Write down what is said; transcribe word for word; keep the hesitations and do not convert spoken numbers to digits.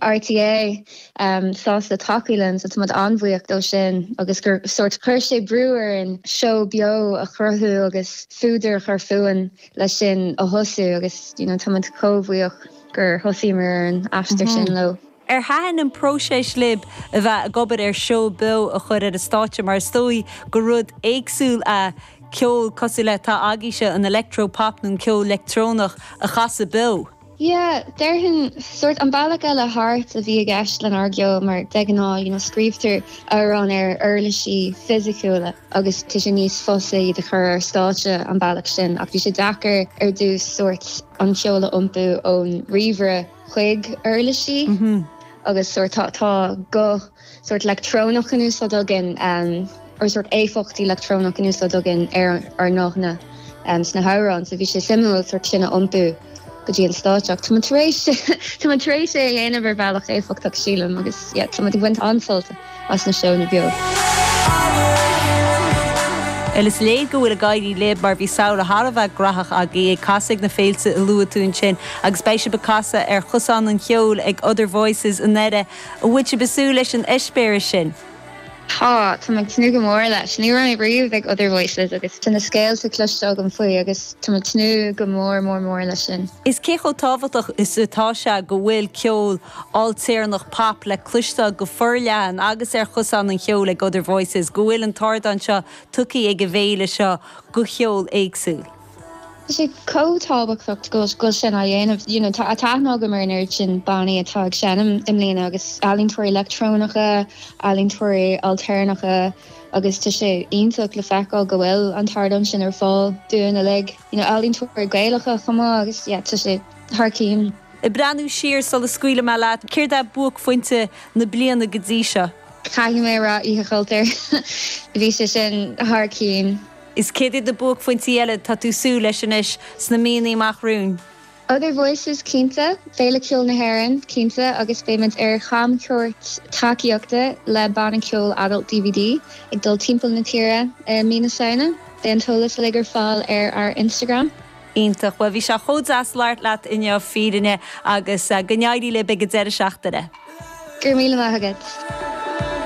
RTÉ um, sásta tacú linn so tá an-bhuíoch dó sin agus gur sort chuir sé brú orainn seó beo a chruthú agus fuadar chur fúinn leis sin a thosú agus you know, tá chomh buíoch gur thosaíomar an aistear sin mhm. leo. Ar thaitin an próiseas libh a bheith ag obair ar seó beo a chur ar an stáitse mar is dóigh gur rud éagsúil a ceol cosúil le tá agaibhse an electropop nó ceol leictreonach a chasadh beo. Yeah, déarfainn sort an bealach eile thart a bhí i gceist lenár gceol mar de ghnáth you know, scríobhtar amhráin ar uirlisí fisiciúla agus tá sé níos fusa iad a chur ar stáitse an bealach sin ach bhí sé deacair ar dtús sort an ceol a iompú ón ríomhaire chuig uirlisí mm -hmm. agus sort tá tá go sort leictreonach in úsáid againn um, or sort éifeachtaí leictreonach in úsáid againn ar ar nóna um, sna hamhráin, so bhí sé suimiúil sort sin a iompú go dtí an stáitse. Tá Tá tar éis é a dhéanamh ar bhealach éifeachtach sílim agus tá ag baint an-sult as na seónna beo. Is léir go bhfuil ag éirí libh mar bhí samhradh thar a bheith gnóthach agaibh ag casadh na féilte a luaigh tú ansin agus beidh sibh ag casadh ar chosán an cheoil ag Other Voices i nDoire an bhfuil sibh ag súil leis an eispéireas sin. Tá tá ag tnúth go mór leis ní raibh mé riamh ag Other Voices agus tá na scéalta cloiste agam faoi agus tá ag tnúth go mór mór mór leis sin. Is cé chomh tábhachtach is atá sé go bhfuil ceol ailtéarnach pop le cloisteáil go forleathan agus ar chosán an cheoil ag Other Voices, go bhfuil an t-ardán seo tugtha ag an bhféile seo do cheol éagsúil. Tá sé chomh tábhachtach go bhfuil sin á dhéanamh you know, tá aithne agam ar an oiread sin bannaí atá ag seinm i mbliana agus ealaíontóirí leictreonacha, ealaíontóirí ailtéarnacha agus tá sé iontach le feiceáil go bhfuil an t-ardán sin ar fáil dúinn uilig. You know, ealaíontóirí Gaelacha chomh maith agus yeah, tá sé thar cinn. Ag breathnú siar sula scaoilfidh mé leat, céard é buaicphointe na bliana go dtí seo. Caithfidh mé rá Oíche Chultúir bhí sé sin thar cinn. Is céard iad na buaicphointí eile tá tú ag súil leis anois sna míonna amach romhainn. Other Voices cinnte, Féile Ceoil na hÉireann cinnte agus beimid ar chamchuairt tacaíochta le banna ceoil adult DVD ag dul timpeall na tíre i mí na Samhna. Beidh an t-eolas uilig ar fáil ar ár Instagram. Iontach, well bhí sé chomh deas labhairt leat inniu Fírinne agus go n-éirí libh ag an deireadh seachtaine. Gur míle maith agat.